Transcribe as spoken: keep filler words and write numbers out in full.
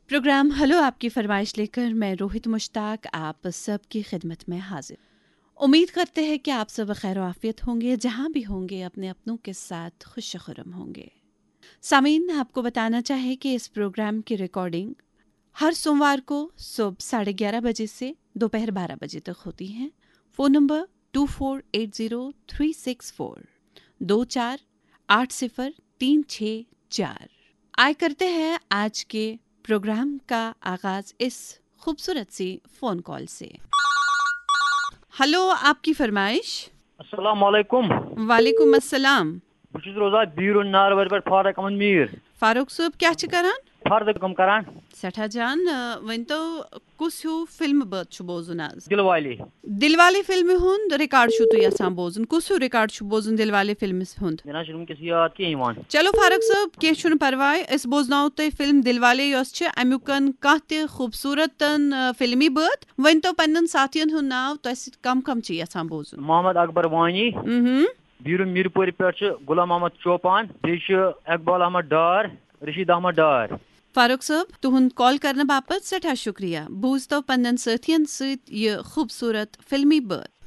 Programme hello आपकी फरमाइश लेकर मैं रोहित मुश्ताक आप सबकी खिदमत में हाजिर। उम्मीद करते हैं कि आप सब खैर आफियत होंगे, जहां भी होंगे अपने अपनों के साथ खुश खुरम होंगे। सामीन, आपको बताना चाहे कि इस प्रोग्राम की रिकॉर्डिंग हर सोमवार को सुबह साढ़े ग्यारह बजे से दोपहर बारह बजे तक होती है। Phone number two four eight zero three six four, दो चार आठ सिफर तीन छः चार। आय करते हैं आज के प्रोग्राम का आगाज इस खूबसूरत सी फ़ोन कॉल से। हेलो, आपकी फरमाइश। السلام علیکم۔ वालेकुम अस्सलाम। بہٕ چھُس روزان بیٖرُن ناروَرِ پٮ۪ٹھ، فاروق احمد میٖر۔ فاروق صٲب، کیٛاہ چھِ کران؟ فردٕ کٲم کران۔ سٮ۪ٹھاہ جان، آ، ؤنۍ تو، کُس ہیوٗ فِلمہٕ بٲتھ چھُ بوزُن آز؟ دِلوالی۔ دِلوالے فِلمہِ ہُنٛد ریکارڈ چھُو تُہۍ یژھان بوزُن؟ کُس ہیوٗ ریکارڈ چھُ بوزُن دِلوالے فِلمہِ ہُنٛد؟ مےٚ نہ چھُنہٕ وٕنکیٚس یاد کینٛہہ یِوان۔ چلو فاروق صٲب، کینٛہہ چھُنہٕ پرواے، أسۍ بوزناوو تۄہہِ فِلم دِلوالے، یۄس چھِ اَمیُکَن کانٛہہ تہِ خوٗبصوٗرتَن، آ، فِلمی بٲتھ۔ ؤنۍ تو پنٛنٮ۪ن ساتھیَن ہُنٛد ناو، تۄہہِ سۭتۍ کم کم چھِ یژھان بوزُن؟ محمد اکبر وانی، مہم۔ بیٖرُن میٖرپورِ پٮ۪ٹھ چھُ غلام محمد چوپان، بیٚیہِ چھُ اقبال احمد ڈار، رشید احمد ڈار۔ فاروق صٲب، تُہُنٛد کال کرنہٕ باپتھ سٮ۪ٹھاہ شُکریہ۔ بوٗزتو پنٛنٮ۪ن سٲتھیَن سۭتۍ یہِ خوٗبصوٗرت فِلمی بٲتھ۔